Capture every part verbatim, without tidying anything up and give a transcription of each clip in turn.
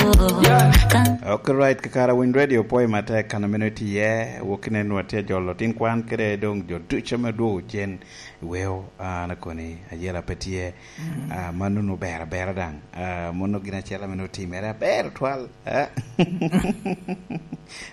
Ok, right, kakara Winy Radio pwoyo matek kan ameno tye, wok inen wa tye jolo tin kwan kede dong jo ducu ame dwogo cen. Weo, an akoni, ayela pe tye. Ah, mano nu ber abera daŋ. Ah, mono gin acel ame nu timere aber twal. Ah.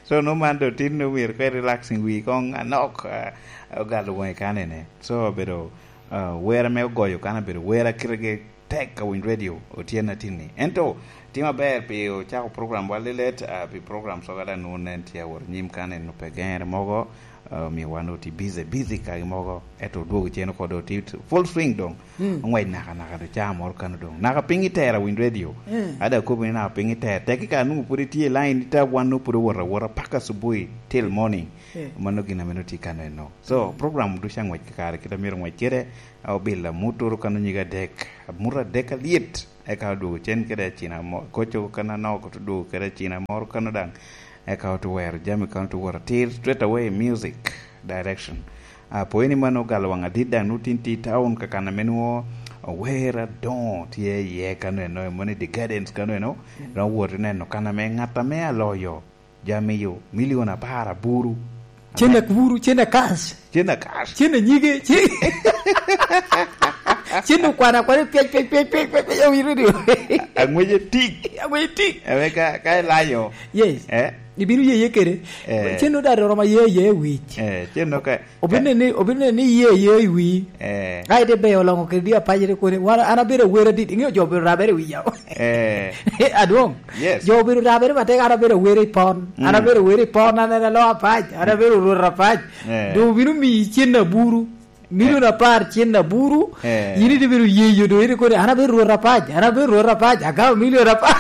So, no man do tin nu myero kwe relaxing wi kong anok, ah, ogalo wonge kanene. So, obedo, ah, wera me ogoyo kan obedo wera kite ge tek ka Winy Radio otyen atinni. Ento, tim aber pi ocako program wa lilet, ah, pi program soga daŋ nu nen tye awot nyim kanene pe gere mogo, ah, omio wan oti busy, busy kagi mogo. Ento odwogo cen oko do ti full swing dong. Mm. Ongwec naka, naka do caa moro kano dong. Naka piny itero Winy Radio. Mm. Ada kobo ni naka piny itero. Tek ka nungo pwod itye i line, ita wan nungo pwod owot awota paka subui till morning. Mm. Mano gin ame nongo tye kano eno. So, mm, program ducu angwec kakare kit amyero ngwec kede, a obilo amut oro kano nyige adek. Amut adek alyet. Eka odwogo cen kede acina mo-, koco kano anoko, to odwogo kede acina moro kano daŋ. Eka otwero jami kano to wot atir straight away music direction. Ah, pwony ni mano ogalo waŋ adit daŋ nu tin ti town kakan ame nwo ower adoŋo tye iye kano eno, mano i The Gardens kano eno, mm, dok wot ineno kan ame ŋat ame aloyo jami yo milion apar aburu. Cen aburu, cen akas. Cen akas. Cen anyige, cen, cen okwana kwana pyac, pyac, pyac, pyac, pyac, pyac, awinyo ni. Angweje tik. Angweje tik. Ame ka, ka ilayo. Yes. Eh? Ibino ye ye kede. Eh. Cen no da roma ye ye wic. Eh, cen no ka, obino ka ni, obino ni ye ye i wi. Eh. Ai de be olongo kede di apaje de kone. Wan, an abedo awero dit. Ingeyo jo obedo rabere i wi yawa. Eh. Adwong. Yes. Jo obedo rabere matek, an abedo awero i pon. An, mm, abedo awero i pon, an en alo apac. An abedo rwot apac. Eh. Do obino miyi cen aburu. Milion, eh, apar cen aburu, eh, yin ite bedo yeyo do, ite kodi, "An abedo rwot apac, an abedo rwot apac, agamo milion apar."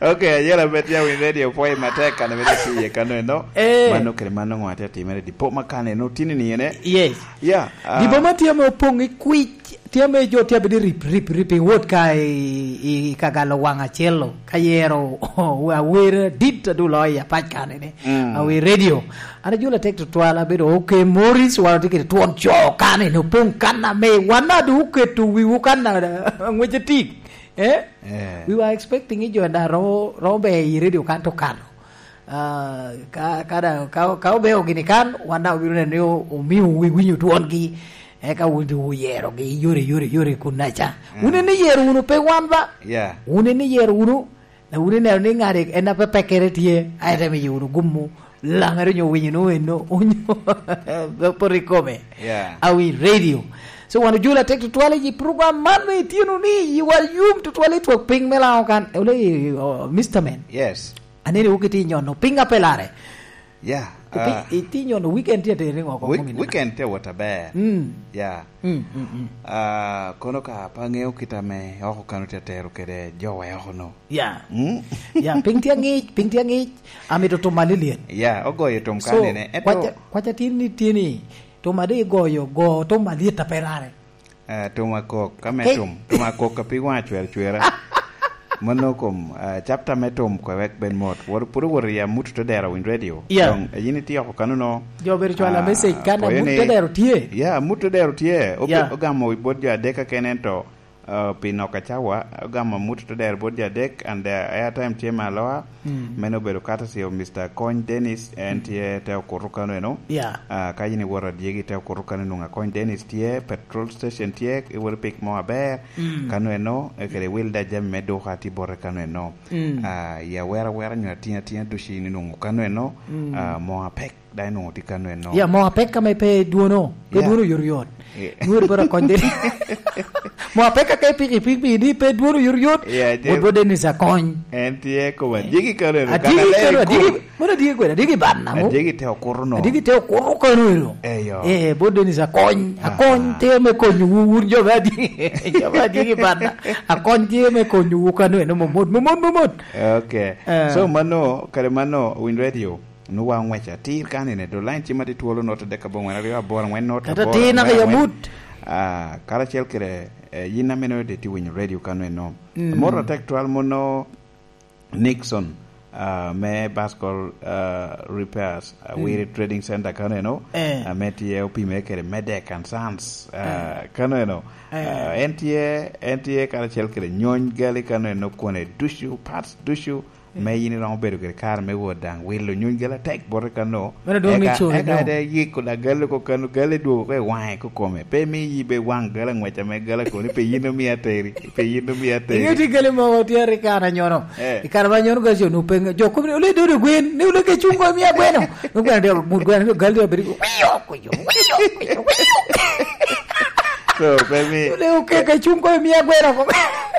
Ok, ayela bet ya Winy Radio pwoyo matek kan ame tye iye kano eno. Eh. Mano kede mano ŋo atye atimere dipo ma kan eno tini ni ene? Yes. Ya, ah. Dipo ma tye ame opoŋ i kwic. Tye ame jo tye abedi rip, rip, rip i wot ka i, i, i ka galo waŋ acel-lo, ka yero awera dit adu loyo i apac kanene. Mm. Awer radio. An ajulo atek tutwal, abedo, "Ok, Morris, wan otye kede twon co kanene, opoŋ kan ame wan adu oketo wiwu kan a, a ŋwece tik." Eh? Eh. We were expecting i jo da ro, ro be i radio kan to kano. Ah, ka, ka da, ka, ka obeo gini kan, wan daŋ obino neno ni o-, omio wi-, winyo twongi, eka wun te wuyerogi, yore, yore, yore kun naca. Mm. Wun en iyero wunu, pe wan ba. Yeah. Wun en iyero wunu, na wun ineno ni ŋat en a pe pekkere tye, a ite miyo wunu gummu, laŋere onyo winyo nu eno, onyo poto i kome. Yeah. Awi radio. So, wan ojulo atek tutwal i program man me itino ni, yiwa yum tutwal i twak piny me Laŋo kan. Ole, oh, Mister Man. Yes. Aneni wok itye nyono, piny ape lare. Ya, iti-, ah, itye nyono weekend tye atere ŋo kong week-, mumina? Weekend tye wot aber. Mm. Ya. Mm, mm, mm. Ah, kono ka pe aŋeo kit ame oko kano tye atero kede jo wa oko no. Ya. Mm. Ya, piny tye aŋic, piny tye aŋic, amito tum alyet. Ya, ogoyo tum. So, kanene. Ento kwaca, kwaca tin ni tye ni, tum adi igoyo, go tum alyet ape rare. Eh, tum akok, ka me tum, tum akok ka pig waŋ acwer acwera. Mano kom, eh, chapter me tum kwe wek bed mot. Wor-, pwod owor i amut te dero Winy Radio. Yeah. Dong, eh, yin itye oko kano no. Jo bedo cwalo, ah, message kan amut te dero tye. Yeah, amut te dero tye. Obe-, yeah, ogamo i bot jo adek keken ento, eh, pi nok acawa, ogamo amut te dero bot jo adek and, eh, airtime tye me aloa. Mm. Meno obedo courtesy of Mister Kony Dennis, en, mm, tye te okuto kano eno. Yeah. Ah, ka yin iwoto adyegi te okuto kano, nwoŋo Akony Dennis tye, petrol station tye, iwoto pik mo aber. Mm. Kano eno, e kede Wilda jami me duka tye bote kano eno. Mm. Ah, i awera awera nyo atina atina ducu in inwoŋo kano eno, mm, ah, mo apek. Dai nwoŋo tye kano eno. Ya, mo apek ame pe dwono, pe, yeah, dwono yot yot. Yeah. Nwoŋo bot Akony Dennis. Mo apek ake piki piki ni pe dwono yot yot. Yeah, je- bot, bot Dennis Akony. En tye kome. Adyegi kano eno, adyegi kano, kano adyegi, mono adyegi kwede, adyegi banna mo. Adyegi te okuto no. Adyegi te okuto kano eno. Eyo. Eh, bot Dennis Akony. Aha. Akony te me konyo wu, wun jo me adyegi. Jo me adyegi banna. Akony te me konyo wu kano eno momot, momot, momot. Okay. Eh. So, mano, kare mano, Winy Radio. Nwoŋo wa oŋwec atir kanene, do line cim atye twolo not adek aboŋwen aryo aboro aŋwen not aboro atir naka aŋwen ya aŋwen. Mut. Ah, karacel kede, eh, yin ameno de tye winyo radio kano eno. Mm. Amoro atek twal mono Nixon, ah, me Bascol, ah, Repairs, ah, Mm. Wiri Trading Center kano eno, Eh. ah, me tye opime kede Medek and Sons, ah, Eh. kano eno. Eh. Ah, en tye, en tye karacel kede nyony gali kano eno, kwone ducu, parts ducu, me yin iromo bedo kede kare me wot daŋ wilo nyuny gala tek bote kano. Meno dwong ni Eka, coro eka dong. Ite yiko da galo ko kano, galo dwogo ko i waŋe ko kome. Pe mi yi be waŋ gala ngwec ame gala koni, pe yin omi ateri, pe yin omi ateri. Ingeyo tye gale mogo tye rik an anyono. Eh. I kare ma anyono gale jo nu penge, jo kumi, "Ole dodo gwen, ni ole ke cuŋ ko imiya gweno." Nu gweno dyo, mut gweno, gale dyo bedo, "Wiyo, wiyo, wiyo, wiyo." So, pe mi Ole oke ke cuŋ ko imiya gweno ko.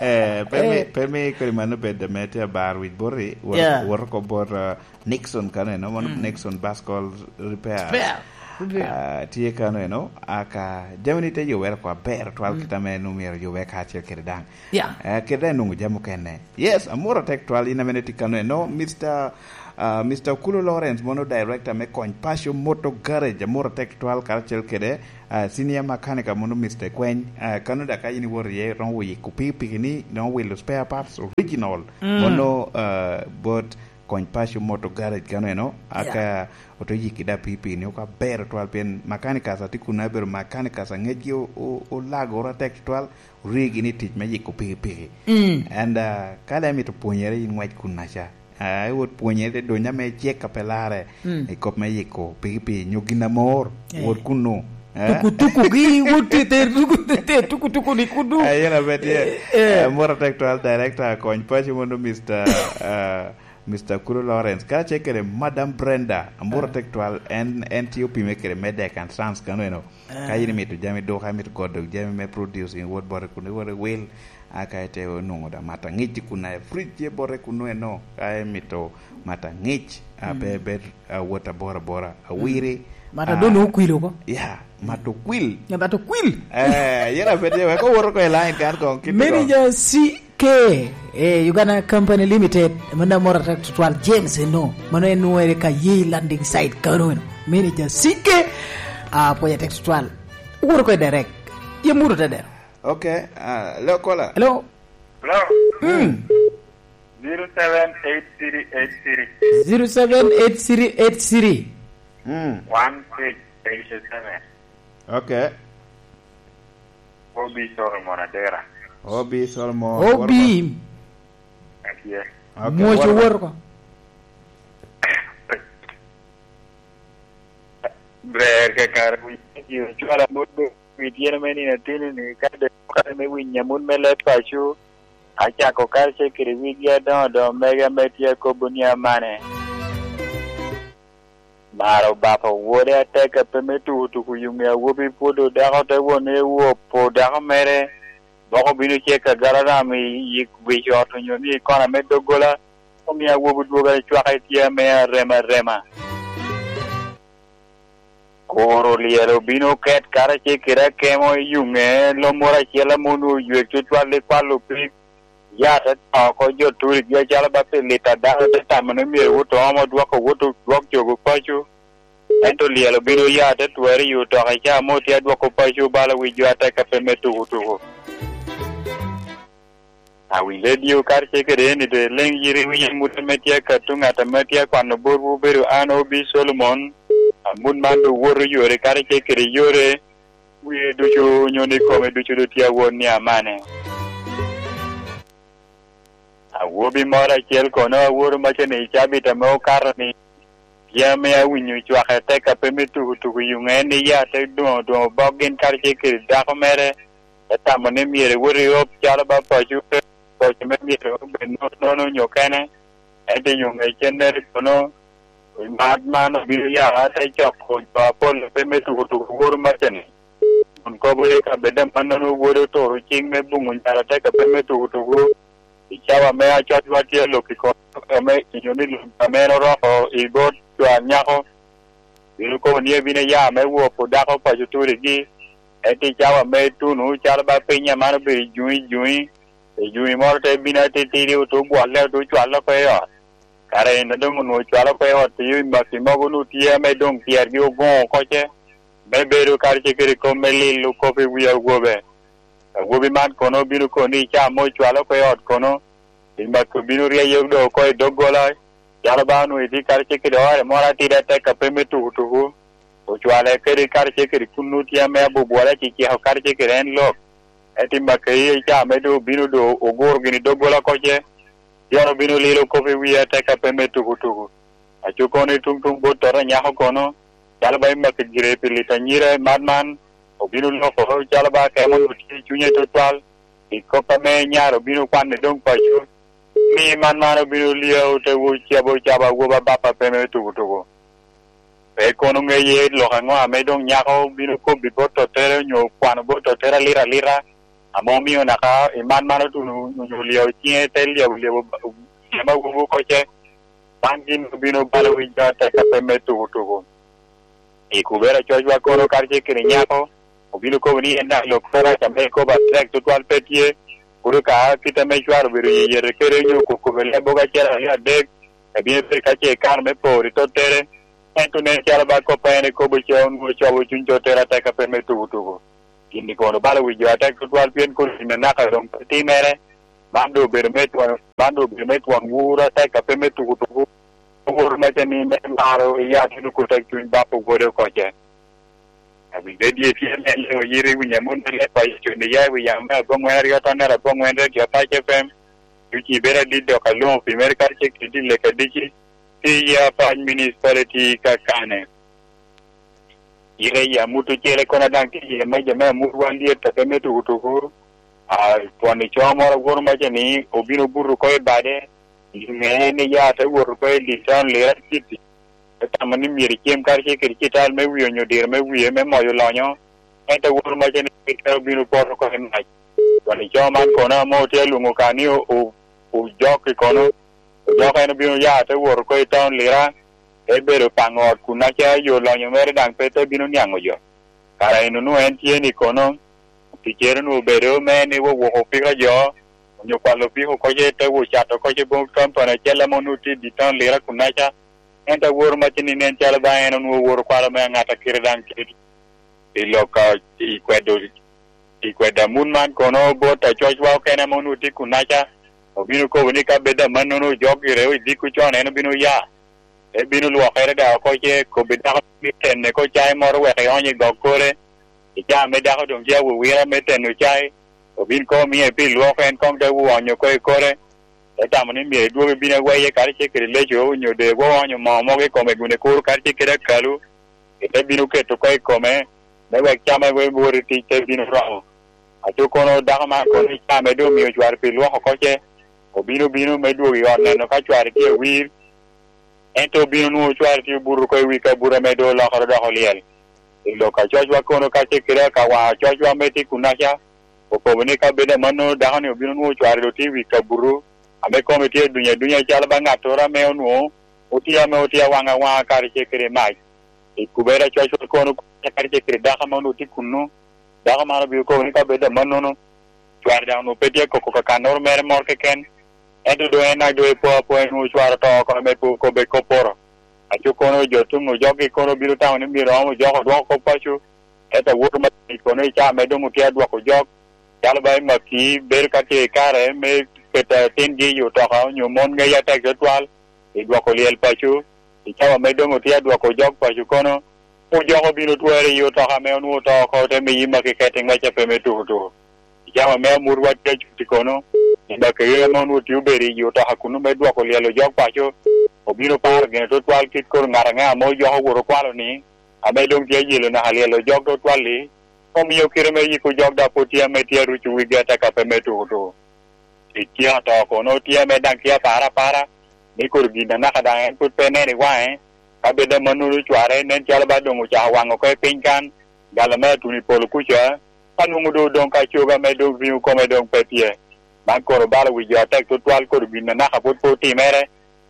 Eh, pe mi, Eh. pe mi kodi mano bed ame tye abar wic boti, wot, Yeah. wot oko bot, uh, Nixon kano eno, mano Mm. Nixon Bascol Repair. Repair. Repair. Ah, tye kano eno, aka jami ni te yubere kwa ber twal Mm. kita me nu myero yube kacel kede daŋ. Yeah. Eh, kede daŋ nungu jami okene. Yes, amoro tek twal in amene tye kano eno, Mister, ah, Mister Okulo Lawrence, mono director me Kony Paco Motor Garage, amoro tek twal karacel kede, ah, senior mechanic mono Mister Kweny. Ah, kano da ka in iwoto iye, romo yiko pikipiki ni, romo wilo spare parts original. Mm. Mono, ah, bot Kony Paco Motor Garage kano eno, aka Yeah. oto yiki da pikipiki ni oko aber twal, pien mechanics a tye kun abedo mechanics a ngecgi o-, o-, olagoro atek twal, origi ni tic me yiko pikipiki. Mm. And, ah, ka le mito pwonyere in ngwec kun aca. Ah, iwot pwonyere te donya me cek a pe larre Mm. i kop me yiko pikipiki nyo gin amor. Eh. Wot kunu. Eh? Tuku-tuku gi, wot te, te, tuku, te, te, tuku-tuku ni kudu. Eh, yen abed ye. Eh, eh. Eh, amoro tek twal director Kony Paco mono Mister, ah, Mister Kuro Lawrence, kacel kede Madam Brenda, amoro Ah. tek twal, en, en tye opime kede Medek and Sons kano eno. Ah. Ka in imito jami duka, imito godo jami me producing, wot bote kun iwot iwil, aka ite onwoŋo da mata ŋic i kun aye fridge tye bote kun eno, ka imito mata ŋic, a, Mm. pe, pe, a, wot abora abora, a, Mm. wiri, Mata a, doŋ okwil oko. Ya, mata okwil. Ya, mata okwil. Eh, yen abed ye, wek owot oko i line kan kong, kit Manager C K, eh, Uganda Company Limited, mano amoro atek tutwal, James eno, mano en nwoŋere ka ye landing site kano eno. Manager C K, ah, pwoyo atek tutwal. Owot oko i direct. Ye muto te dero. Ok, ah, hello, caller. Hello. Hello. Mm. Zero seven eight three eight three. Zero seven eight three eight three. Mm. One six eight seven. Ok. O B Solomon Adera. O B Solomon, O B. Woro ko. Atye. Ok, Mwoco woro ko. Woro ko. Ber kakare wi cwala mot be wi tyeno me nino ateni ni ka de kare me winyo amut me leb paco, acako karacel kede wigi adoŋo doŋo mege ame tye akobo ni amane. Maro bako wode atek a pe me tuko tuko yuŋe awobi pwodo dako te won ni ewopo dako mere, boko bino cek agararam i, i wic ot onyo ni i kona me doggola, omio awobi dwogo acwaka i tye ame arema arema. Koro lyel obino ket karacel kede akemo i yuŋe, lom moro acel ame onwoŋo oywek tutwal i kwalo pig, ya te to oko jo turigi acalo ba pi lita dano te tamo ni myero wot oomo dwoko wot odwok jogo paco. Ento lyel obino ya te twero i otoka i caa mo tye adwoko paco bala wi jo atek a pe me tuko tuko. Awinyo redio karacel kede eni doŋ ileŋ yiri winyo amut ame tye ka tuŋ ŋat ame tye akwano botwu obedo an O B Solomon. Amut man doŋ woto yore karacel kede yore, wie ducu onyo ni kome ducu doŋ tye awot ni amane. Awobi moro acel kono aworo macen i cabit ame okato ni, Pien ame awinyo cwak atek a pe me tuko tuko i yuŋe en ni ya te dwoŋo dwoŋo bok gin karacel kede dako mere, te tamo ni myero ewot i op calo ba paco, paco me myero obed nono nono onyo kene, ento i yuŋe cennere kono, i mat man obino ya te coko jo apol a pe me tuko tuko woro macani. Kun kobo ni ka bed amannono wode oturo cing me buŋo nyara te ka pe me tuko tuko, i cawa me acwacwa tye lok i kom ame inyo ni lok ame en oroko i bot cwar nyako, bino kobo ni ebino ya me wopo dako paco turigi, ento i cawa me tuno calo ba piny aman obedo i juŋi juŋi, i juŋi moro te bino atitidi otu gwolle otu cwalo oko i ot. Kare en doŋ onwoŋo cwalo oko i ot, i makki mogo onwoŋo tye ame doŋ pyergi ogoŋo oko ce, me bedo karacel kede kop me lilo kop i wi awobe. Awobi man kono obino kono ni i caa mo ocwalo oko i ot kono, i makki obino ryeye doŋ oko i doggola, Calo ba onwoŋo itye karacel kede ore moro atidi atek a pe me tukutuku, ocwale kede karacel kede kunnu tye ame abubwole aciciko karacel kede en lok. Ento i Makeyi ca ame doŋ obino doŋ oguro gini doggola koce, pieno obino lilo kop i wie atek a pe me tukutuku. Aco kono i tuŋ tuŋ bot tota nyako kono, calo ba i Makeyi gire pi lito anyira i mat man, obino loko calo ba kemo onwoŋo tye i cunye tutwal, i kop ame nyare obino kwanne doŋ paco, ni man man obino lyeo te wo cabo cabo awoba bapa pe me tukutuku. Pe kono ŋeye lok aŋo ame doŋ nyako bino kobbi bot tottere onyo kwano bot tottere alita alita, ame omio naka i man man otuno onyo lyeo ciŋe te lyebo lyebo cem awobi okoce, man gin obino balo winyo atek a pe me tukutuku. I kubera cocwa kono karacel kede nyako, obino kobo ni en daŋ lok pe rac ame ikobo atek tutwal pe tye, pwod ka kit ame cware obedo yeyete kede onyo kokobe leb mogo acel aryo adek, ebino bedo ka ce ikano me poro i tottere, ento nen calo ba kop a en ikobo ca onwoŋo cobo cuny tottere atek a pe me tukutuku. Gin-ni kono balo wi jo atek tutwal pien kono gin anaka doŋ pe timere, man doŋ obedo me twon, man doŋ obedo me twon wuro atek a pe me tukutuku, wuro mece ni me maro iya tuno kutek cuny bap owode okoce. Awinyo dye tye me leŋo yiri winyo amon me leb paco cunni ya i wi yam me aboŋwen aryo tonnere aboŋwen redio Apac F M. Duci bedo adit dok alwoŋo pi mere karacel kede dil lek adici, tye i Apac Municipality kakane. Ite i amut ocele kono daŋ tye iye meja me amut wan lyet a pe me tukutuku. A, twon ico moro awoto maca ni obino buto oko i bade, i ŋeye ni ya te wot oko i Litton Lira City. Te tamo ni myero icem karacel kede cital me wie onyo diro me wie me moyo lonyo. Ento awoto maca ni pe obino poto oko i mac. Twon ico man kono ame otye alwoŋo ka ni o-, o-, ojok i kono. Ojok en obino ya te wot oko i taun Lira, te bedo paŋo ot kunnaca yo lonyo mere daŋ pe te bino niaŋo jo. Kara en onwoŋo en tye ni kono, ticcere onwoŋo obedo me ni wowoko opiko jo, onyo kwalo opiko koce te wo cato koce bot kampani acel ame onwoŋo tye i dye taun Lira kunnaca. Ento aworo macce ni nen calo ba en onwoŋo owoto kwalo me aŋata kite daŋ kit i lok a, i kwedo, i kwedo amut man kono bot acocwa okene ame onwoŋo tye kunnaca, obino kobo ni ka bed amannono ojok gire i dikku con en obino ya. Te bino lwokere daŋ oko ce kobbi dako ni tenne ko cai moro wek ionyo i gok kore. I caa me dako doŋ tye awowira me teno cai, obin koŋ omiye pi lwok en koŋ te wonyo oko i kore. Te tamo ni myero idwog ibin aweye karacel kede leco onyo de gwoŋ onyo moo mogo i kome kun ikuro karacel kede akalu, ite bino keto oko i kome, me wek cam a wot i tic te bino romo. Aco kono dako man kono i caa me doŋ omio cware pi lwoko oko ce, obino bino me dwogo i ot neno ka cware tye awir, ento obino nwoŋo cware tye obuto oko i wi kabuto ame doŋ olokere odoko lyel. I lok a cocwa kono karacel kede akawaŋ a cocwa ame tye kunnaca, okobo ni ka bed amannono dako-ni obino nwoŋo cware doŋ tye i wi kabuto, ame kome tye aduny adunya calo ba ŋattoro ame onwoŋo otye ame otye awaŋ awaŋa karacel kede mac. I kubere a cocwa kono karacel kede dako ame onwoŋo tye kunnu, dako man obino kobo ni ka bed amannono, cware daŋ onwoŋo pe tye koko kakannoro mere moro keken, ento doŋ en daŋ doŋ epo apoya nwoŋo cware oto oko ame pe okobbe kopporo. Aco kono jo tuŋ ojokgi kono obino tamo ni myero om ojok odwoko kop paco, ento awoto ma i kono i caa me doŋ otye adwoko jok, calo ba i Makii bedo ka tye i kare me keto atingi i otoka onyo mon ŋeyo atek tutwal, i dwoko lyel paco, i cawa me doŋ otye adwoko jok paco kono, ojok obino twere i otoka ame onwoŋo oto oko, te miyi Makii keti ŋwec a pe me tukutuku. I cawa me amut watye acuti kono, i Makii ame onwoŋo tye obedo i otoka kunnu me dwoko lyel ojok paco, obino paro gine tutwal kit kor ŋat aŋe ame ojok owoto okwalo ni, ame doŋ tye ayelo naka lyel ojok tutwal-li, omio kite me yiko jok daŋ pwod tye ame tye aruco wigi ataka pe me tukutuku. Tic tye oto kono tye ame daŋ tye apara apara, ni kor gin anaka daŋ en pwod pe nen i waŋe, ka bed amannono cware nen calo ba doŋ ocako waŋo oko i piny kan, gala me atuno i polo kuca, ka nwoŋo doŋ odoŋ ka cogo ame doŋ riŋo kome doŋ pe tye. Man kono balo wi jo atek tutwal kor gin anaka pwod pe otimere,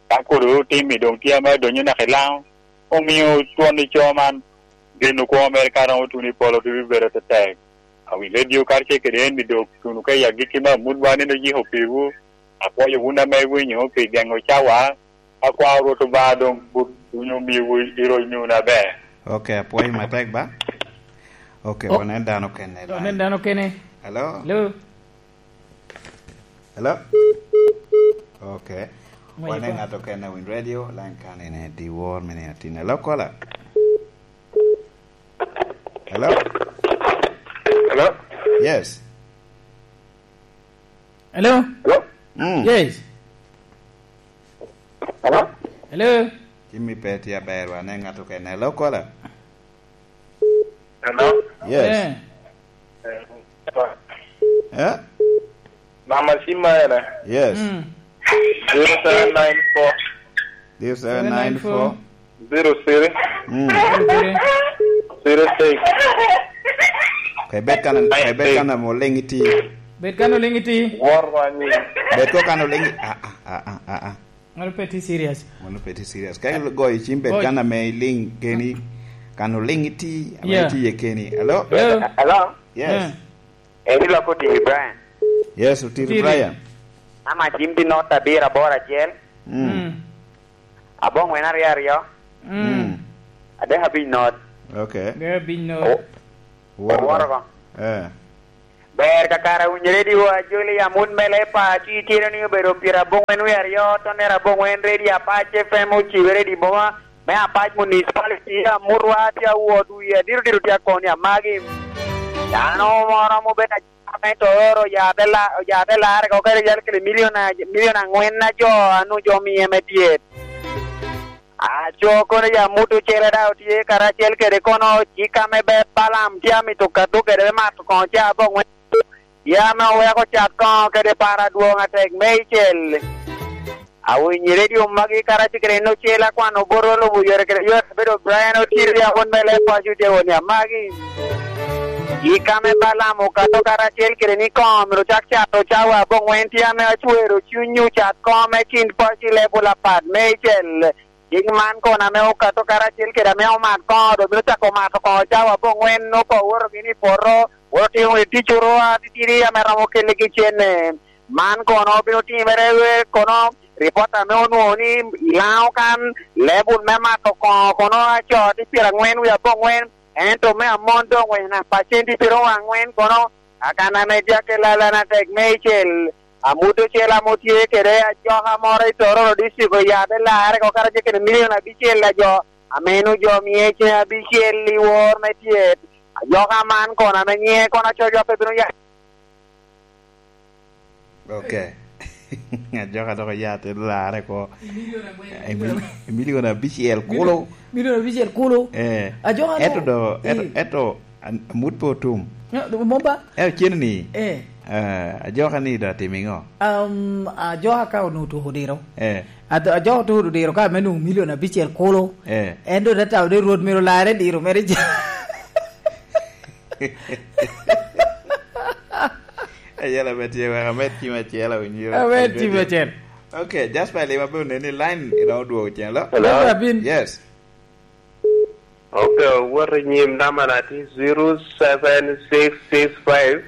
ka kor otim-mi doŋ tye ame adonyo naka i Laŋo, omio twon i co man, geno kwo mere ka romo tuno i polo te bibedo tetek. Awi redio karacel kede en-ni doŋ tuno ka i agikki me amut wa nino yiko piwu, apwoyo wun ame iwinyo pi geŋo cawa, akwa Rwot Obaŋa doŋ but wun omiwu i roc nunu aber. Ok, apwoyo matek ba. Ok, oh, wanen dano kene. Wanen dano kene. Hello? Hello? Hello? Ok. Wan e ŋat okene a Winy Radio, line kan ene dyewor me nino atin. Hello, caller. Hello? Hello? Yes. Hello? Hello? Mm. Yes. Hello? Hello? Jimmy pe tye aber, wan e ŋat okene. Hello, caller. Hello? Yes. Eh. Eh? Mama Simba ene? Yes. Mm. Zero seven nine four. Zero seven nine four. Zero three. Mm. Zero three. Zero six. Kwe bet kana, kwe bet kana mo lingi ti. Bet kana lingi ti. War wani. Bet ko kana lingi. Ah, ah, ah, ah, ah, ah. Mano pe tye serious. Mano pe tye serious. Ka igoyo cim bet kan ame iliŋ keni, kan oliŋ iti, ame iti ye keni. Hello? Hello? Hello? Yes. Yeah. Eni loko Otiri Brian. Yes, Otiri Brian. Ama cim tye not abiro aboro acel. Mm. Mm. Aboŋwen aryo aryo. Mm. Mm. Adek abic not. Okay. Adek abic not. O-, Oworo ko. Eh. Ber kakare, awinyo redio ajoli amut me lepa, ci itino ni obedo pyera aboŋwen wie aryo, tonere aboŋwen, redio Apac F M ocibere i boma me Apac Municipality, amut wa tye awot wie, diro diro tye akoni amagi. Dano moro ame obedo ajama me Tororo, oya te la-, oya te larre ko kede yal kede milion a-, milion angwen a jo, anu jo mie me dyet. Aco kono ya mut ocele daŋ otye karacel kede kono cik ame ber Balaam tye amito kato kede me mato koŋo ca aboŋwen. Ya ame oweko cat koŋo kede para adwoŋ atek me icel. Awinyo i redio magi karacel kede en ocel akwano bot olubo yore kede yore abedo Brian Otir ya won me leb paco tye won ya magi. Cik ame Balaam okato karacel kede ni koŋo myero ocak cato cawa aboŋwen tye ame acwero cuny ocat koŋo me kin paco i level apat me icel. Cik man kono ame okato karacel kede ame omat koŋo, dok bino cako mato koŋo cawa aboŋwen, opo owoto gini i poto, owoto timo i tic oro atitidi ame romo keligi cene. Man kono bino timere kono, ripot ame onwoŋo ni i Laŋo kan, lebul me mato koŋo kono acoo tye pyeraŋwen wie aboŋwen, ento me amon doŋ wena pacenti pyeraŋwen kono, akan ame jakke lalana tek me icel. Amut ocel ame otye kede ajoka moro i Tororo District oya te larre oko karacel kede milion abicel a jo, ame en ojo mie cen abicel i wor me tyet. Ajoka man kono ame nyiŋe kono acoco pe bino ya. Ok. Ajoka dok oya te larre oko. I milion angwen. I mil-, i milion abicel kulu. Milion abicel kulu. Eh. Ajoka no. Eto do, eto, eh, eto An-, amut pe otum. Ya, mom ba? Eh, ocen ni. Eh. Eh, ajoka ni do atimo iŋo? Um, ajoka ka onwoŋo tuko diro. Eh. Ad-, ajoka otuko diro ka me nwoŋo milion abicel kulu. Eh. En do te tamo ni Rwot myero larre diro mere ca. Ayela me tye wek amed cim acel, awinyo. Amed cim acel. Ok, Jasper Lima pe oneni line iromo dwogo cen lo. Hello? Jasper Abin. Yes. Ok, owoto i nyim namba na tye zero seven six six five.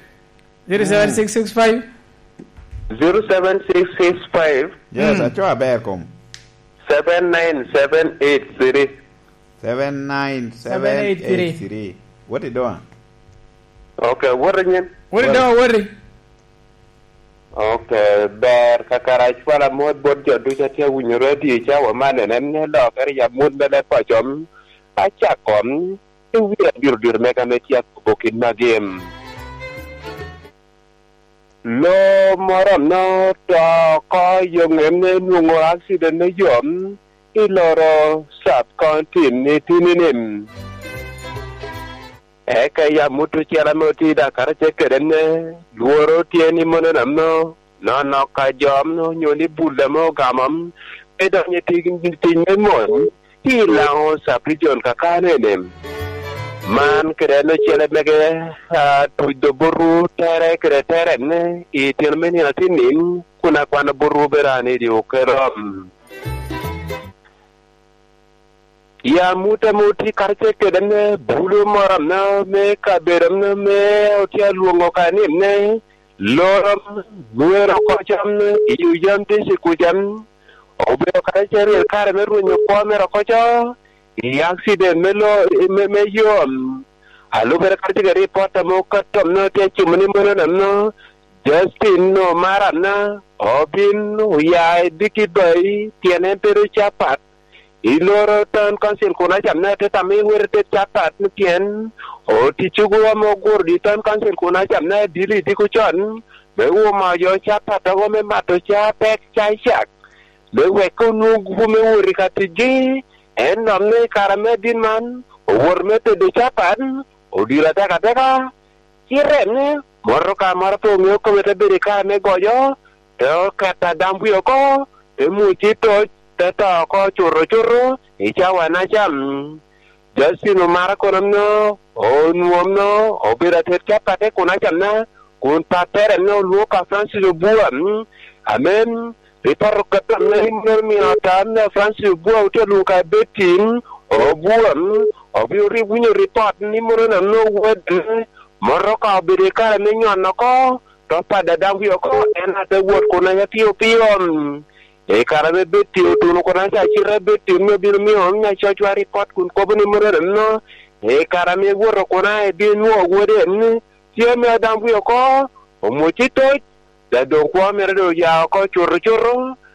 Zero seven six six five? Zero seven six six five. Yes, mm, aco aber kom. Seven nine seven eight three. Seven nine seven eight three. Seven eight three. What you doing? Ok, owoto i nyim. What you doing, what you? Ok, ber kakare, acwalo amot bot jo ducu a tye awinyo redio i cawa man, en, en ni lokere i amut me leb paco, acako i wi adiro diro mega ame tye akobo kit magi. Lo moro ame oto oko i yo ŋem, nwoŋo accident me yo i Loro Sub County i tinini. Eka i amut ocele ame otye i Dakar, ce kede ne, lworo tye ni mono nonok ka jo ame onyo ni bul ame ogamo, pe donyo i tic, tic me mony i Laŋo Sub Region kakano ene. Man kede en ocele mege, a, tuc do botwu tere kede tere ne i tino me nino atinni, kun akwano botwu bedo an i dye okelo. Ya amut ame otye karacel kede ame bulu moro ame me kabedo ame, ame otye alwoŋo ka ni me loro, nywero oko cam i yo yam district kuca, obedo karacel i kare me rwenyo kwo mere oko co, i accident me lo, me, me yo. Alubere karacel kede ripot ame okato ame otye acimo ni mono neno Justin Omarana obin oya i diki bayi, pien en bedo capat i loro Town Council kun acamne te tamo i were tet capat ni pien oticcigo ame oguro i Town Council kun acamne adili i diko con me wumo jo capat ago me mato ca pek ca i cak, me wek onwoŋ gupu me wot i ka ticgi. En dok ni i kare me adit man, owoto me tedo capat, odiro atekateka, cite ni motoka moro pe oŋeo kome te bedo i kare me gojo, te oketo adam wie oko, te muc i toc, te to oko cuto cuto i cawa na cam. Justin omaro kono no, onwoŋo no, obedo atet capatte kun acamna, kun pappere no olwoŋo ka Francis Obua, mm, amen. Ripot okato ame rimoro omio ata ame Francis Obua otye lwongo ka Betty, mm, Obua, mm, obino ri-, winyo ripot ni mono na nwoŋo wode, mm, motoka obedo i kare me nyon oko, to padde adam wie oko, en ate wot kun aya piyo piyo, mm. I kare ame Betty otuno kun aya cite Betty omio bino mio nya cocwa ripot kun kobo ni mono no, i kare ame woto kun aya ebino nwoŋo wode, mm, tye ame adam wie oko, omwoc i toc, Dok doŋ kwo mere doŋ oya oko cuto cuto,